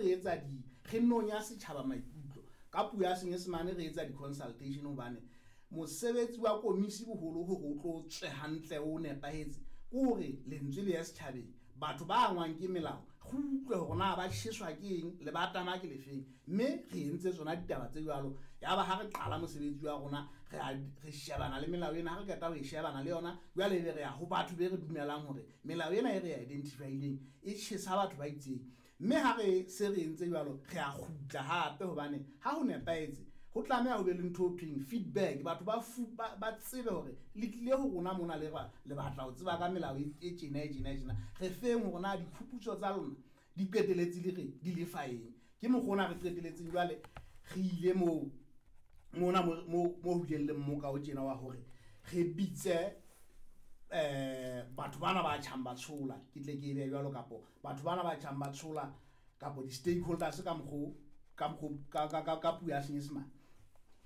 re etsa di re nonya setjhaba maikutlo ka puo ya Senyesemane, re etsa di-consultation, hobane mosebetsi wa komisi boholo hore o tlo tswe hantle, o nepahetse, ke hore lentswe le ya setjhabeng, batho ba angwang ke melao, re utlwe hore na ba tjheswa ke eng, le ba tama ke lefeng. Mme re entse tsona ditaba tse jwalo. Yaba ha re qala mosebetsi wa rona, re shebana le melao ena. Ha re qeta ho e shebana le yona, jwale ebe re ya ho batho be re dumelang hore melao ena e re e identify-ileng e tjhesa batho ba itseng. Mme ha re se re entse jwalo, re a kgutla hape, hobane ha ho nepahetse ho tlameha ho be le ntho ho thweng feedback. Batho ba tsebe hore le tlile ho rona mona, le batla ho tseba ka melao e tjena, e tjena, e tjena. Re feng hore na diphuputso tsa lona di qeteletse le re di le fa eng. Ke mokgwa ona re qeteletseng jwale re ile moo mona mo ho bileng le mmoka o tjena wa hore re bitse batho bana ba tjhang ba tshola, ke tle ke e behe jwalo, kapo batho bana ba tjhang ba tshola, kapo di-stakeholders ka mokgo, ka mokgo ka puo ya Senyesemane.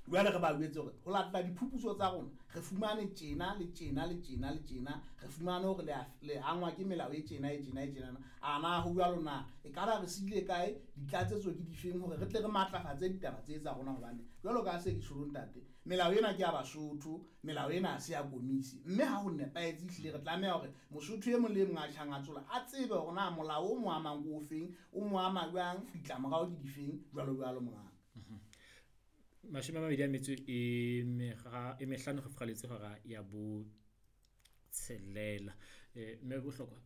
Jwale re ba jwetse hore ho latela diphuputso tsa rona re fumane tjena le tjena le tjena le tjena, re fumane hore le angwa ke melao e tjena, e tjena, e tjena. A na ho jwalo na? E ka ba re siile kae? Ditlatsetso ke difeng hore re tle re matlafatse ditaba tse tsa rona? Hobane jwalo ka se ke tjholo, ntate, melao ena ke ya Basotho, melao ena ha se ya komisi. Mme ha ho nepahetse, ehlile re tlameha hore Mosotho e mong le e mong a tjhang a tsola a tsebe hore na molao o mo amang ke o feng, o mo ama jwang, ditlamorao ke difeng, jwalo jwalo, mongaka. 25 go fogaletse hora ya bo tshelela. Mme bohlokwa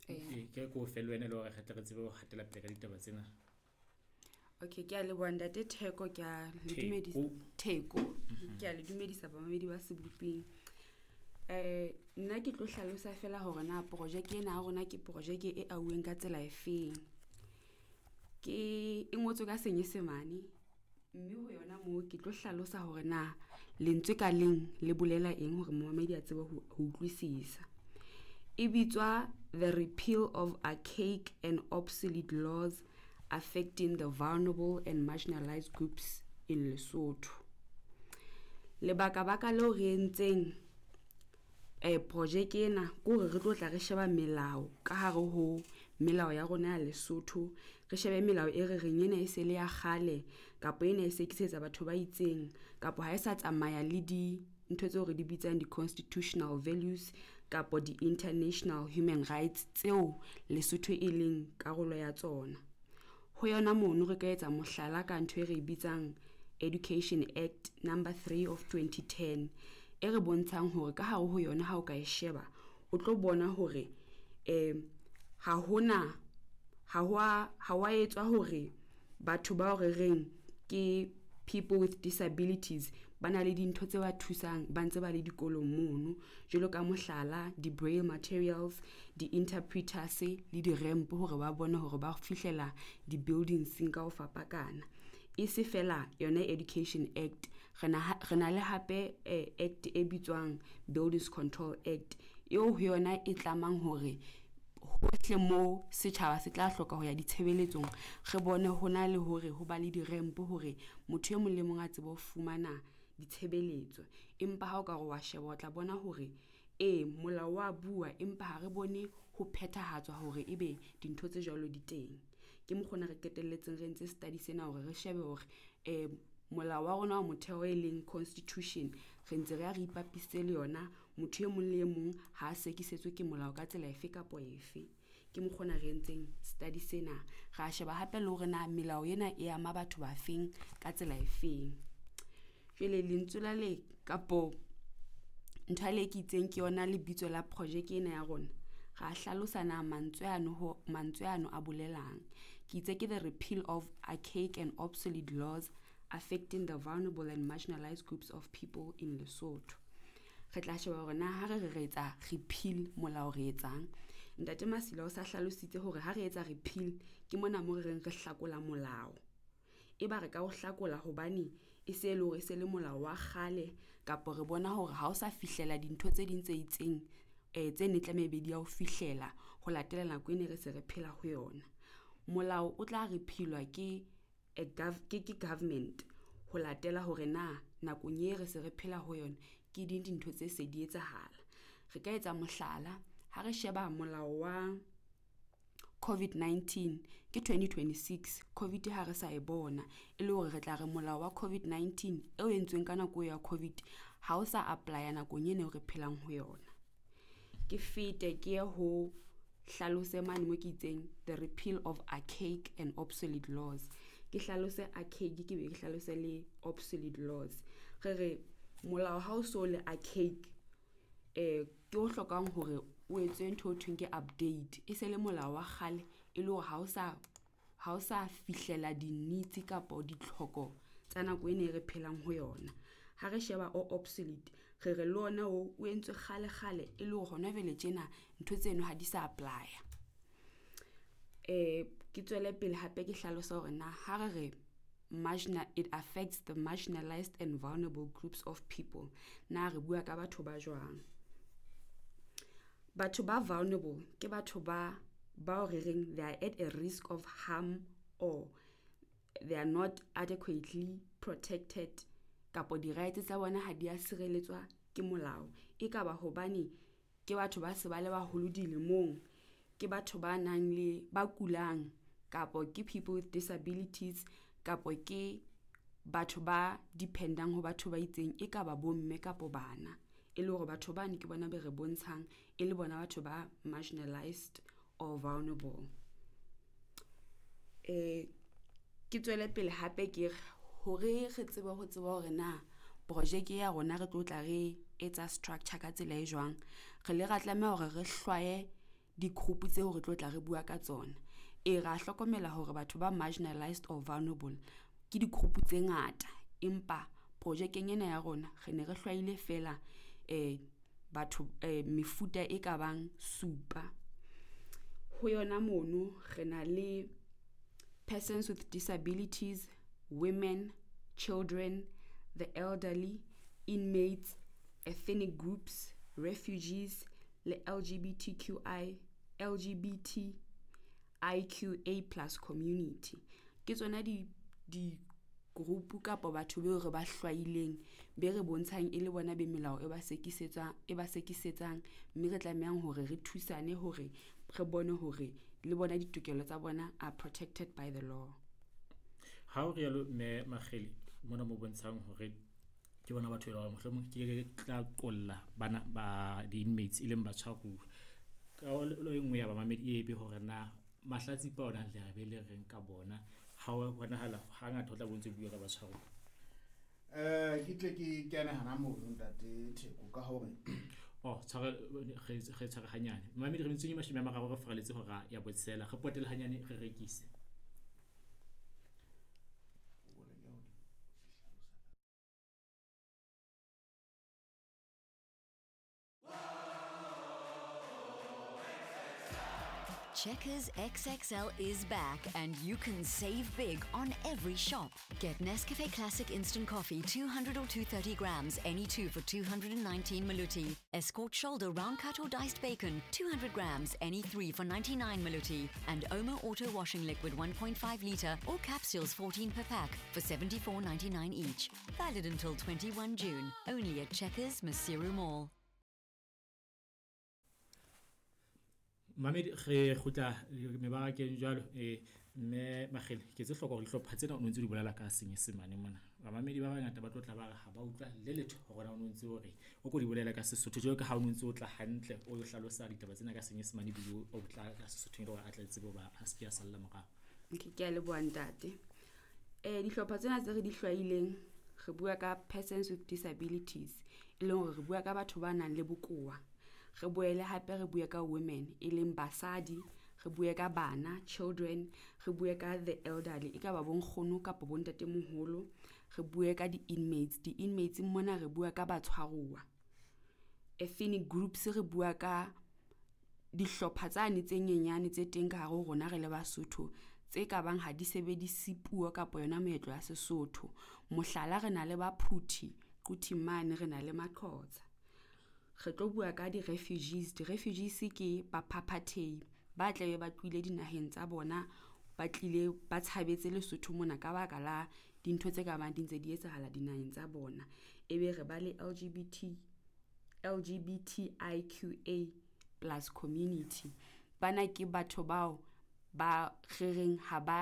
ke ko fe le wena le hore re tle re tsebe ho hatela pele ka ditaba tsena. Okay, ke a leboha, ntate Theko, ke a le dumedisa. Theko, ke a le dumedisa bamamedi ba Sebopeng. Nna ke tlo hlalosa fela hore na projeke ena ya rona ke projeke e auweng ka tsela e feng. Ke e ngotswe ka Senyesemane, mme ho yona moo ke tlo hlalosa hore na lentswe ka leng le bolela eng hore momamedi a tsebe ho utlwisisa. E bitswa The Repeal of Archaic and Obsolete Laws Affecting the Vulnerable and Marginalized Groups in Lesotho. Lebaka baka leo re entseng projeke ena ke hore re tlo tla re sheba melao ka hare ho melao ya rona ya Lesotho, re shebe melao e re reng ena e se le ya kgale, kapa ena e sekisetsa batho ba itseng, kapa ha e sa tsamaya le di ntho tseo re di bitsang di-constitutional values kapa di-international human rights tseo Lesotho e leng karolo ya tsona. Ho yona mono re ka etsa mohlala ka ntho e re e bitsang Education Act number 3 of 2010, e re bontshang hore ka hare ho yona ha o ka e sheba, o tlo bona hore ha hona ha wa etswa hore batho bao re reng ke people with disabilities ba na le dintho tse ba thusang ba ntse ba le dikolong mono, jwalo ka mohlala di-braille materials, di-interpreters le di-ramp hore ba bone hore ba fihlela di-buildings ka ho fapakana. E se fela yona Education Act, re na le hape act e bitswang Buildings Control Act, eo ho yona e tlamang hore hohle mo setjhaba se tla hloka ho ya ditshebeletsong, re bone ho na le hore ho ba le di-ramp hore motho e mong le mong a tsebe ho fumana ditshebeletso. Empa ha o ka re wa sheba, o tla bona hore ee, molao wa bua, empa ha re bone ho phethahatswa hore ebe dintho tse jwalo di teng. Ke mokgwa re qetelletseng re entse study sena hore re shebe hore molao wa rona wa motheo e leng constitution re ntse re ya re ipapisitse le yona, motho e mong le e mong ha a sekisetswe ke molao ka tsela efe kapa efe. Ke mokgwa ona re entseng study sena. Ra sheba hape le hore na melao ena e ama batho ba feng ka tsela e feng. Jwale lentswe la le kapo ntho le ke itseng ke yona lebitso la projeke ena ya rona, ra hlalosa na mantswe ano a bolelang. Ke itse ke the repeal of archaic and obsolete laws affecting the vulnerable and marginalized groups of people in Lesotho. Re tla sheba hore na ha re re etsa repeal molao re etsang. Ntate Masila o sa hlalositse hore ha re etsa repeal ke mona mo re reng re hlakola molao. E ba re ka o hlakola hobane e se e le hore e se le molao wa kgale, kapa re bona hore ha o sa fihlela dintho tse ding tse itseng tse ne tlameha ebe di ya ho fihlela ho latela nako e ne re se re phela ho yona. Molao o tla repealwa ke ke government ho latela hore na nakong e re se re phela ho yona ke ding dintho tse se di etsahala. Re ka etsa mohlala ha re sheba molao wa COVID-19 ke 2026, COVID ha re sa e bona, e le hore re tla re molao wa COVID-19 eo entsweng ka nako ya COVID ha o sa apply-a nakong ena eo re phelang ho yona. Ke fete ke ye ho hlalose mane mo ke itseng the repeal of archaic and obsolete laws. Ke hlalose archaic, ke be ke hlalose le obsolete laws. Re re molao ha o so le archaic, ke o hlokang hore o etswe ntho e thweng ke update, e se le molao wa kgale e le hore ha o sa fihlela di-needs kapo ditlhoko tsa nako ena e re phelang ho yona. Ha re sheba o obsolete, re re le ona o o entswe kgale kgale e le hore hona jwale tjena ntho tseno ha di sa apply-a. Ke tswele pele hape ke hlalosa hore na ha re re it affects the marginalized and vulnerable groups of people, na re bua ka batho ba jwang? Batho ba vulnerable ke batho ba bao re reng they are at a risk of harm or they are not adequately protected, kapo di-rights tsa bona ha di a sireletswa ke molao. E ka ba hobane ke batho ba se ba le baholo dilemong, ke batho ba nang le ba kulang, kapo ke people with disabilities, kapo ke batho ba dependang ho batho ba itseng, e ka ba bomme kapo bana. E le hore batho bane ke bona be re bontshang e le bona batho ba marginalized or vulnerable. Ke tswele pele hape ke re hore re tsebe ho tseba hore na projeke ya rona re tlo tla re etsa structure ka tsela e jwang, re le ra tlameha hore re hlwaye di-group tseo re tlo tla re bua ka tsona. E ra hlokomela hore batho ba marginalized or vulnerable ke di-group tse ngata, empa projekeng ena ya rona re ne re hlwaile fela batho mefuta e ka bang supa. Ho yona mono re na le persons with disabilities, women, children, the elderly, inmates, ethnic groups, refugees le LGBTQI, LGBTIQA plus community. Ke tsona di group kapa batho beo re ba hlwaileng be re bontshang e le bona be melao e ba sekisetsang, e ba sekisetsang, mme re tlamehang hore re thusane hore re bone hore le bona ditokelo tsa bona are protected by the law. Ha o rialo mme Makgele, mona mo bontshang hore ke bona batho e leng hore mohlomong ke tla qolla bana ba di-inmates e leng batshwaruwa. Ka e nngwe ya bamamedi e be hore na mahlatsipa ona le be le reng ka bona, ha o bonahala hangata ho tla bo ntse bua ka batshwaruwa. Ke tle ke kene hana mono ntate Theko ka hore oh tshware re tshware hanyane. Mamedi re metsong e 30 re faraletse hora ya botsela, re potele hanyane re rekise. Checkers XXL is back and you can save big on every shop. Get Nescafe Classic Instant Coffee 200 or 230 grams, any two for 219 Maluti. Escort Shoulder Round Cut or Diced Bacon, 200 grams, any three for 99 Maluti. And Omo Auto Washing Liquid 1.5 litre or capsules 14 per pack for 74.99 each. Valid until 21 June. Only at Checkers Maseru Mall. Mamedi re kgutla mebarakeng jwalo, mme Makgele ke tse hloka hore dihlopha tsena o ntse di bolela ka Senyesemane mona. Bamamedi ba bangata ba tlo tla ba re ha ba utlwa le letho hore na o ntse o re o ko di bolela ka Sesotho, jwalo ka ha o ntse o tla hantle o hlalosa ditaba tsena ka Senyesemane ebile o tla ka Sesotho hore a tle tsebe hoba a se ke a salla morao. Okay, ke a leboha ntate. Dihlopha tsena tse re di hlwaileng, re bua ka persons with disabilities, e leng hore re bua ka batho ba nang le bokowa. Re boele hape re bue ka women, e leng basadi, re bue ka bana, children, re bue ka the elderly, e ka ba bonkgono kapa bontatemoholo, re bue ka di-inmates. Di-inmates mona re bua ka batshwaruwa. Ethnic groups re bua ka dihlopha tsane tse nyenyane tse teng ka hare ho rona re le Basotho, tse ka bang ha di sebedise puo kapa yona meetlo ya Sesotho. Mohlala re na le Baphuthi, Quthing mane re na le Maqhotsa. Re tlo bua ka di-refugees. Di-refugees ke baphaphathehi ba tlabe ba tlohile dinaheng tsa bona, ba tlile ba tshabetse Lesotho mona ka baka la dintho tse ka bang di ntse di etsahala dinaheng tsa bona. Ebe re ba le LGBTIQA plus community. Bana ke batho bao ba re reng ha ba